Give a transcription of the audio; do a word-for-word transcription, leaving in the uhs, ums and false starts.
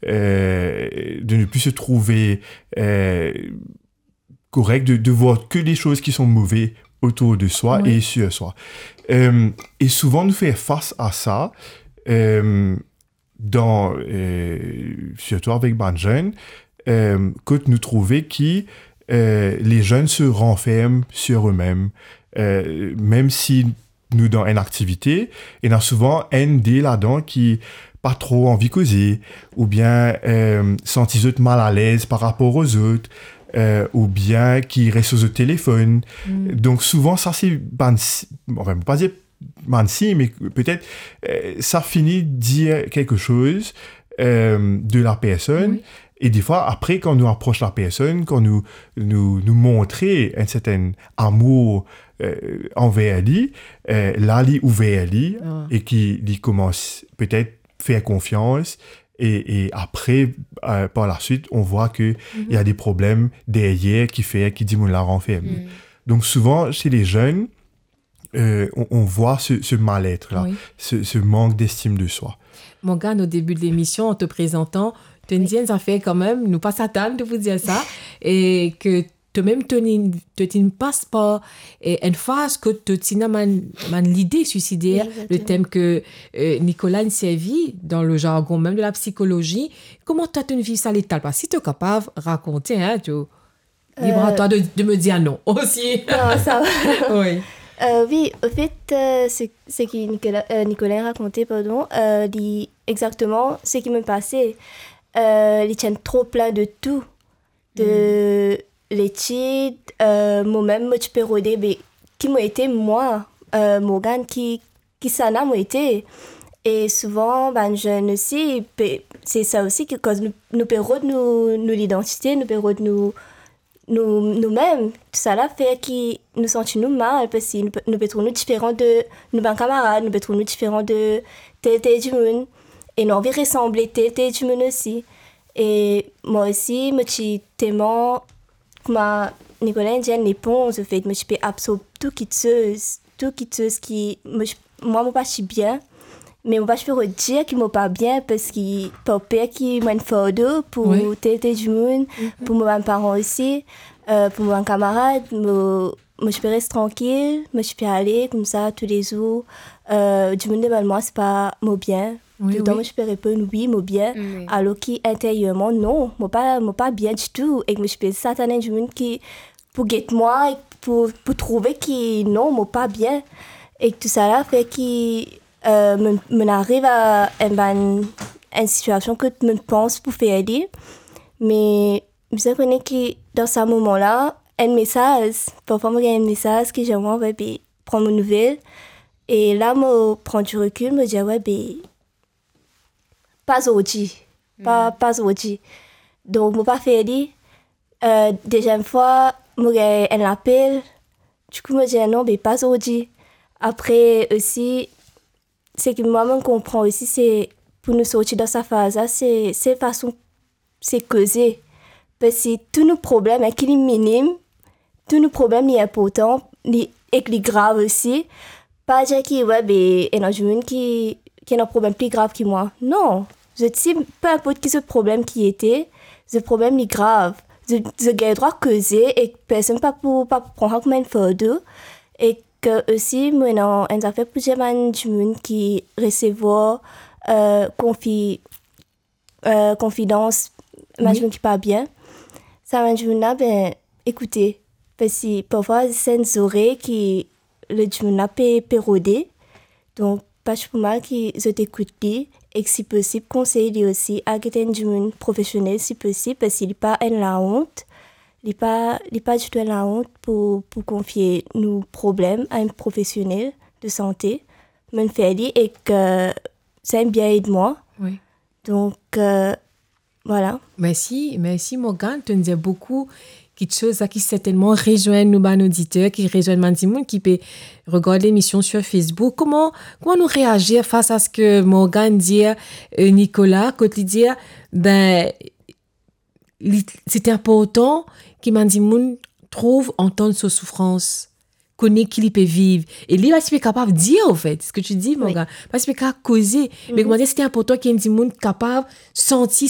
euh, de ne plus se trouver, euh, correct, de, de voir que les choses qui sont mauvaises autour de soi et sur soi. Euh, et souvent, nous faire face à ça, euh, dans, euh, surtout avec bann jeunes, euh, que nous trouver qui, euh, les jeunes se renferment sur eux-mêmes, euh, même si nou dan enn aktivite, ena souvan enn de ladan ki pa tro anvi koze, oubien, euh, santi zot mal alez par rapor ar zot, euh, oubien ki res lor zot telefonn. Donk souvan sa se bann si-, anfin, mo pa dir bann sign, me petet, euh, sa fini dir quelque chose, euh, de la personne. E defwa, apre, kan nou apros la personn, kan nou, nou, nou montre enn serten amour, euh, anver li, euh, la, li ouver li e ki li koumans petet fer konfians, e, e apre, euh, par la suite, on voit que il y a des problèmes derrière qui fait ki dimoun la ranferm li. Donk souvan, chez les jeunes, euh, on, on voit ce, ce mal-être-là, ce, ce manque d'estime de soi. Morgane, au début de l'émission, en te présentant, to inn dir enn zafer kanmem, nou pa ti atann to pou dir sa, e ke to mem to inn, to ti inn pas par, e, enn faz kot to ti ena bann, bann lide suisider, le tem ke, euh, Nicolas inn servi dan le jargon mem de la psikolozi. Kouma twa to inn viv sa letan la? Si to kapav rakonte, hein, to, libre à toi de, de me dire non aussi. Non, sa va. Wi. Euh, wi, anfet, euh, se, seki Nicolas, euh, Nicolas rakonte, pardon, euh, li, exakteman seki mo pase. Euh, li ti enn tro plin de tou. De letid, euh, momem mo ti pe rode, be, ki mo ete mwa, euh, Morgane, ki, kisannla mo ete. E souvan, bann zenn osi, pe, se sa osi ki koz nou, nou pe rod nou, nou lidantite, nou pe rod nou, nou, noumem. Tousala fer ki nou santi nou mal, parski nou pe, nou pe trouv nou diferan de nou bann kamarad, nou pe trouv nou diferan de tel, tel dimoun. E nou anvi resanble tel, tel dimoun osi. E mwa osi, mo ti telman, kouma Nicolas inn dir, enn leponz, anfet, mo ti pe absorb tou kitsoz, tou kitsoz ki mo ti, mwa, mo pa ti bien, me mo pa ti pe rod dir ki mo pa bien, parski par per ki mo enn fardo pou tel, tel dimoun, pou mo bann paran osi, euh, pou mo bann kamarad, mo, mo ti pe res trankil, mo ti pe ale koumsa toulezour, euh, dimoun demann mwa si pa mo bien. Wi, toultan mo ti pe reponn, "Wi, mo bien." Alor ki interierman, non, mo pa, mo pa bien ditou. E mo ti pe zis atann enn dimoun ki pou get mwa, e pou, pou trouve ki non, mo pa bien. E tousala fer ki, euh, mo, mo ariv a enn bann, enn sitiasion kot mo pans pou fer li. Me bizin kone ki dan sa moman la, enn mesaz, parfwa mo gagn enn mesaz ki dir mwa, be, pran mo nouvel. E la mo pran di rekil, mo dir, be, pa zordi. Pa, pa zordi. Donk, mo pa fer li. Euh, deziem fwa, mo gagn enn lapel. Dikou, mo dir, non, be, pa zordi. Apre osi, seki mwa, mo konpran osi, se pou nou sorti dan sa faz la, se, se fason se koze. Parski tou nou problem, hein, ki li minim, tou nou problem li inportan, li, ek li grav osi. Pa dir ki, we, be, ena dimoun ki, ki ena problem pli grav ki mwa. Non. Zot si, pe inport ki zot problem ki ete, zot problem li grav. Zot, zot gagn drwa koze ek personn pa pou, pa pou pran sa kouma enn fardo. Ek osi, mo ena enn zafer pou dir bann dimoun ki resevwar, euh, konfi-, euh, konfidans bann dimoun ki pa bien. Sa bann dimoun la, be, ekoute, parski parfwa se enn zorey ki le dimoun la pe, pe rode. Donk, pa ti pou mal ki zot ekout li, ek si posib, konsey li osi al get enn dimoun profesionel si posib, parski li pa enn laont. Li pa, li pa ditou enn laont pou, pou konfie nou problem a enn profesionel de sante. Mo'nn fer li ek, euh, sa inn bien ed mwa. Wi. Donk, euh, vwala. Mersi, mersi Morgane. To'nn dir boukou kitsoz la ki sertennman rezwenn nou bann oditer, ki rezwenn bann dimoun ki pe regard lemision sur Facebook. Kouma, kouma nou reazir fas a seki Morgane dir, euh, Nicolas, kot li dir, be, li, se inportan ki bann dimoun trouv, antann so soufrans, kone ki li pe viv. E li pa ti pe kapav dir, anfet, seki to dir, Morgane, pa ti pe kapav koze. Me kouma dir, se inportan ki enn dimoun kapav santi